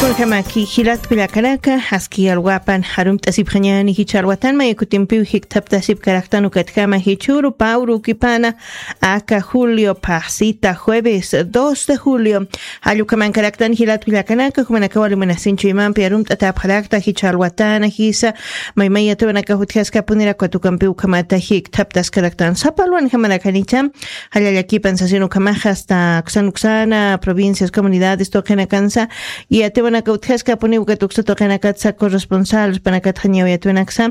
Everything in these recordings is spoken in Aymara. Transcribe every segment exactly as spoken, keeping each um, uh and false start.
Kunjamaki jilat kullakanaka, aski alwapan jarumt'asipxañani jichha alwatan, maya kutimpiw jikthaptasip karaktan ukatjama jichhuru pawru ukipana, aka julio phaxsita jueves dos de julio. Jallukhaman karaktan jilat kullakanaka, jumanakaw alimunasinchu imampi arumt'atapxarakta jichha alwatana jisa, maymaya tuwanaka jutjaskapunira katukampiw ukhamata jikthaptas karaktan. Sapa alwan jamarakanicha, jallallakipan sasin ukhamaxa hasta uksan uksana provincias, comunidades tuqinakansa, yatiwanaka utjaskapuniw ukat uksa tuqinakatsa corresponsal panakatxa ñaw yatiwanaksa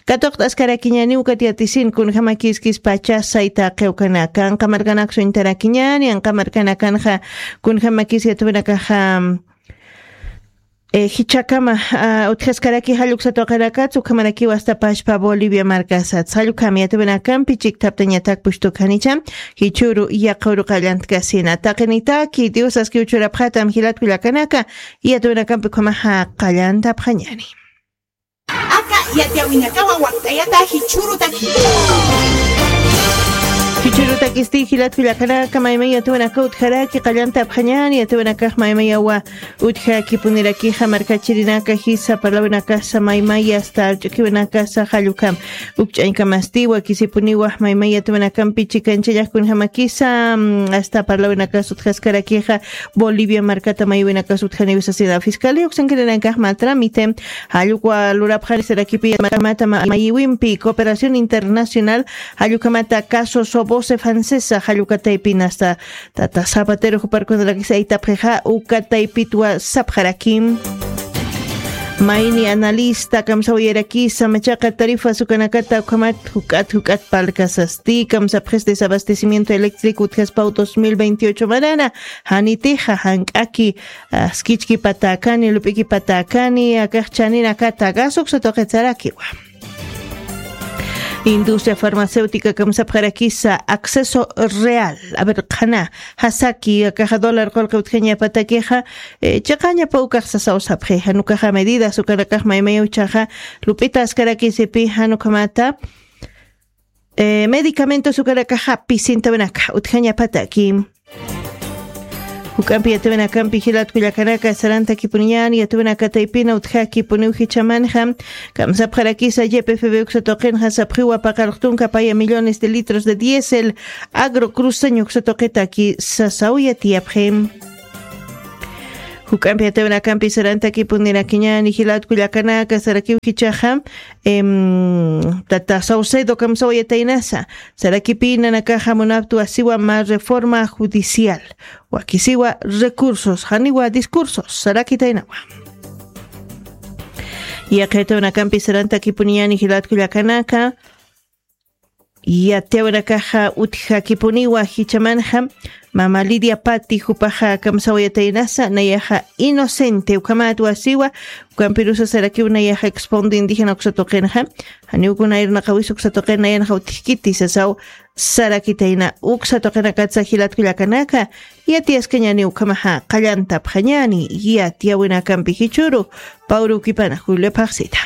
katuqt'askarakiñaniw ukat yatisin kunjamakiskis pacha sayta qiwkanaka, anqa markanaksu intarakiñani, anqa markanakanxa kunjamakis yatiwanakaxa, eh, jichhakama, ah, utjaskaraki jalluksa tuqinakatsa ukhamarakiw hasta pashpa Bolivia markasat. Jallukami yatiwinakampi chikthaptañatak pushtukanicha, jichhuru yaqhuru qallantkasina. Taqinitaki Dios aski uchurapxatam jilat kullakanaka, yatiwinakampi ukhamaxa qallantapxañani. Aka yatiyawinakawa wakt'ayata jichhurutaki. Jichhurutakisti jilat kullakanaka, maymay yatiwinaka utjaraki qallantapxañani, yatiwinakax maymayawa utjakipunirakixa markachirinaka jisa parlawinakasa maymaya hasta arch'ukiwinakasa jallukam. Ukch'añkamasti wakisipuniwa maymay yatiwinakampi chikanchallax kunjamakisa, mm, hasta parlawinakas utjaskarakixa Bolivia markata maywinakas utjaniw sasina. Fiscalía uksankirinakax mä trámite jallukwa lurapxani sarakipi mata ma-, mayiwimpi cooperación internacional jallukhamata caso Sobose Francesa jallukataypin hasta tata Zapatero juparkunarakis aytapxixa ukataypitwa sapxarakim. Mayni analista kamsawayarakisa machaqa tarifas ukanakata ukhamat juk'at juk'at parlkasasti kamsapxis desabastecimiento eléctrico utjaspaw dos mil veintiocho manana janitixa jank'aki, ah, skichkipatäkani lup'ikipatäkani akax chaninakata gas uksa tuqitsarakiwa. Industria farmacéutica kamsapxarakisa acceso real, a ver qhana jasaki akaxa dólar qullqi utjañapatakixa, eh, chiqañapa ukax sasaw sapxi janukaxa medidas ukanakax maymaya uchaxa lup'ita askarakisipi janukhamata, eh, medicamentos ukanakaxa pisintawinaka utjañapataki. Juk'ampi yatiwinakampi jilat kullakanaka sarantakipuniñani yatiwinakataypina utjakipuniw jichhamanxa kamsapxarakisa ypfb uksa tuqinxa sapxiwa paqarux tunka paya millones de litros de diésel agrocruceño uksa tuqitaki sasaw yatiyapxi. Juk'ampi yatiwinakampi sarantakipunirakiñani jilat kullakanaka sarakiw jichhaxa, em, tata Saucedo kamsawayataynasa sarakipi nanakaxa munaptwa siwa mä reforma judicial, wakisiwa recursos janiwa discursos sarakitaynawa. Yaqhitawinakampi sarantakipuniñani jilat kullakanaka, yatiyawinakaxa utjakipuniwa jichhamanxa mama Lidia Pati jupaxa kamsawayataynasa nayaxa inocente ukhamat wasiwa. Ukampirusa sarakiw nayaxa expondo indígena uksa tuqinxa janiw kuna irnaqawis uksa tuqin nayanxa utjkiti sasaw sarakitayna uksa tuqinakatsa jilat kullakanaka, yatiyaskañani ukhamaxa qallantapxañani yatiyawinakampi jichhuru pawrukipana julio phaxsita.